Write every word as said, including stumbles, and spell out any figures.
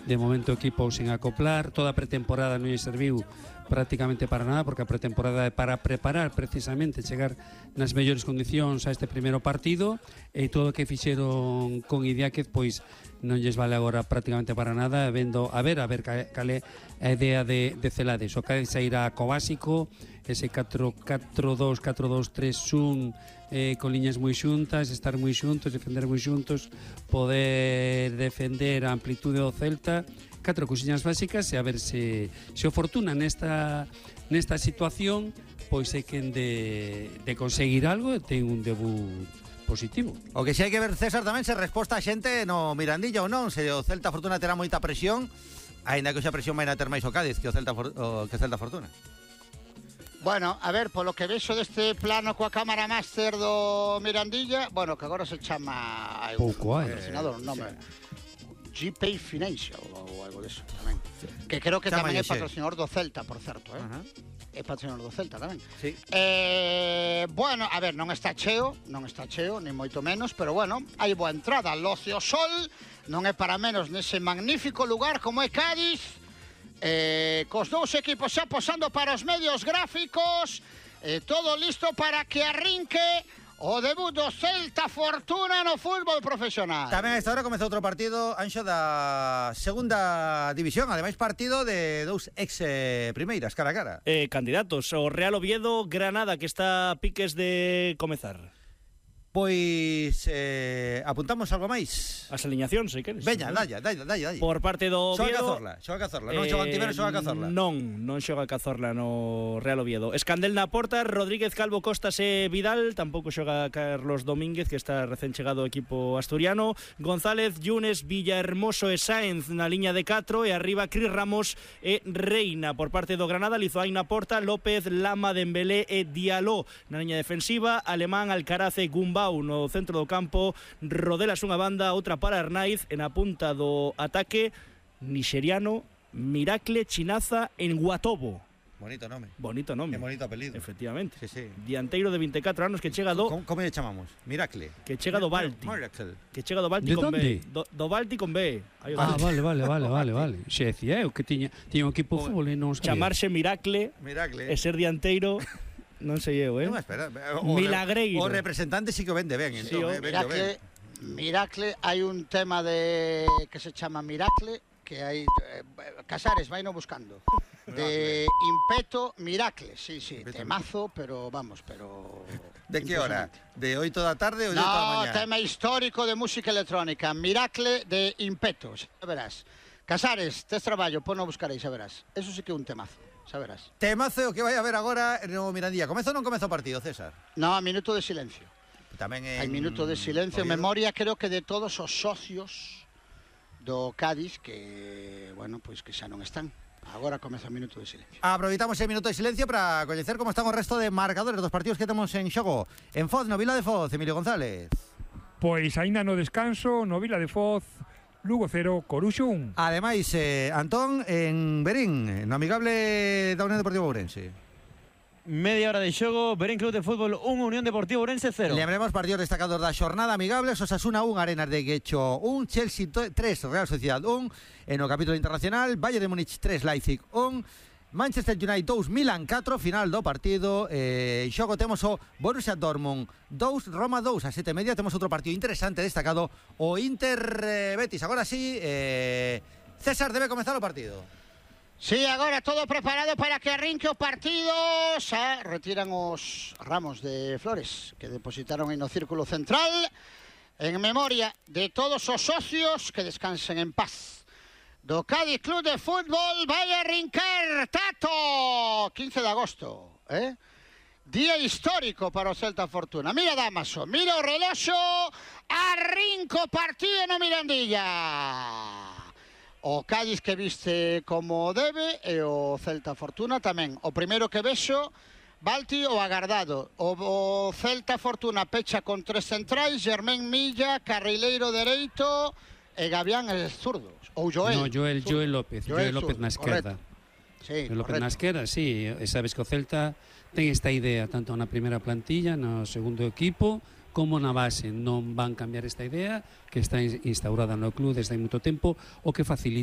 de momento o equipo sin acoplar, toda a pretemporada non lle serviu prácticamente para nada, porque a pretemporada é para preparar precisamente chegar nas mellores condicións a este primeiro partido, e todo o que fixeron con Idiáquez pois non lles vale agora prácticamente para nada, vendo a ver a ver cal é a idea de, de Celades. O Cádiz irá co básico, ese catro catro dos catro dos tres un, eh, con liñas moi xuntas, estar moi xuntos, defender moi xuntos, poder defender a amplitude do Celta, catro cousiñas básicas, e a ver se, se o Fortuna nesta, nesta situación pois é quen de, de conseguir algo e ten un debut positivo. O que si hai que ver, César, tamén se resposta a xente no Mirandilla ou non, se o Celta Fortuna terá moita presión, aínda que esa presión vai a ter máis o Cádiz que o Celta, o, que o Celta Fortuna. Bueno, a ver, polo que vexo deste plano coa cámara máster do Mirandilla, bueno, que agora se chama pouco hai, patrocinador, non me G P Financial ou algo deso tamén. Sí. Que creo que Chama tamén é ese. patrocinador do Celta, por certo, eh. Ajá. É patrocinador do Celta tamén. Sí. Eh, bueno, a ver, non está cheo, non está cheo, ni moito menos, pero bueno, hai boa entrada. Locio Sol non é para menos nese magnífico lugar como é Cádiz. Eh, cos dous equipos xa posando para os medios gráficos, eh, todo listo para que arrinque o debut do Celta Fortuna no fútbol profesional. Tamén a esta hora comeza outro partido, Anxo, da segunda división, ademais partido de dous ex eh, primeiras, cara a cara. Eh, candidatos, o Real Oviedo Granada, que está a piques de comezar. Pois eh, apuntamos algo máis. As aliñacións, se queres. Veña, dalla, dalla, dalla, dalla. Por parte do Xoga Oviedo. Cazorla, xoga Cazorla, non xoga Antivero, xoga Cazorla. Non, non xoga Cazorla no Real Oviedo. Escandel na porta, Rodríguez, Calvo, Costas e Vidal, tampouco xoga Carlos Domínguez, que está recén chegado ao equipo asturiano. González, Yunes, Villahermoso e Sáenz na liña de catro, e arriba Cris Ramos e Reina. Por parte do Granada, Lizoain na porta, López, Lama, Dembélé e Diallo na liña defensiva, Alemán, Alcaraz e Gumbau no centro do campo, Rodelas unha banda, outra para Arnaiz, e na punta do ataque, nixeriano Miracle Chinaza en Guatobo. Bonito nome. Bonito nome. Que bonito apelido. Efectivamente. Sí, sí. Dianteiro de vinte e catro anos que chega do Como, como lle chamamos? Miracle. que chega do Balti. Miracle. Que chega do Balti De con onde? B. Do, do Balti con B. Aí o Ah, Balti. vale, vale, vale, vale, vale. Xe decía eu que tiña, tiña un equipo de fútbol e non sabía. Chamarse Miracle Miracle. e ser dianteiro, non sei eu, eh? Non, espera. O, Milagreiro. O representante sí que o vende ben, Sí, entón, o- eh, vende ben. Miracle, Miracle, hai un tema de que se chama Miracle, que hai eh, Casares, vai no buscando. De Impeto Miracle, sí, sí, Impeto temazo, pero vamos, pero De que hora? De oito da tarde ou de oito da No, mañá? tema histórico de música electrónica, Miracle de Impeto, xa verás. Casares, tes traballo, pono a buscar aí, xa verás. Eso sí que é un temazo, xa verás. Temazo que vai a ver agora no Mirandilla. Comezo ou non comezo o partido, César? No, minuto de silencio. Tamén en... Hai minuto de silencio en Oviedo. memoria, creo que de todos os socios do Cádiz que, bueno, pois que xa non están. Agora comeza o minuto de silencio. Aproveitamos ese minuto de silencio para coñecer como están o resto de marcadores dos partidos que temos en xogo. En Foz, no Vila de Foz, Emilio González. Pois aínda no descanso, no Vila de Foz, Lugo cero, Coruxo un. Ademais, eh, Antón, en Berín, no amigable da Unión Deportiva Ourense. Media hora de xogo, Berín Club de Fútbol un, Unión Deportiva Ourense cero. Lembremos partidos destacados da xornada amigables: Osasuna un, Arenas de Guecho un, Chelsea tres, Real Sociedad un, en o capítulo internacional, Bayern de Múnich tres, Leipzig un, Manchester United dos, Milan catro, final do partido. Eh, xogo temos o Borussia Dortmund dos, Roma dos, a sete e media. Temos outro partido interesante destacado, o Inter eh, Betis. Agora sí, eh, César, debe comezar o partido. Sí, agora todo preparado para que arrinque o partido. Xa retiran os ramos de flores que depositaron aí no círculo central, en memoria de todos os socios, que descansen en paz. Do Cádiz Club de Fútbol vai a arrincar Tato, quince de agosto, eh? Día histórico para o Celta Fortuna. Mira Damaso, mira o reloxo, arrinco o partido no Mirandilla. O Cádiz que viste como debe e o Celta Fortuna tamén. O primeiro que vexo, Balti o agardado. O, o Celta Fortuna pecha con tres centrais, Germán Milla, carrileiro dereito e Gavián é zurdo. Ou Joel. No, Joel, zurdo. Joel López, Joel, Joel López zurdo, na esquerda. Sí, Joel López correcto. na esquerda, sí, e sabes que o Celta ten esta idea tanto na primeira plantilla, no segundo equipo, como na base. Non van cambiar esta idea que está instaurada no club desde hai moito tempo, o que facilita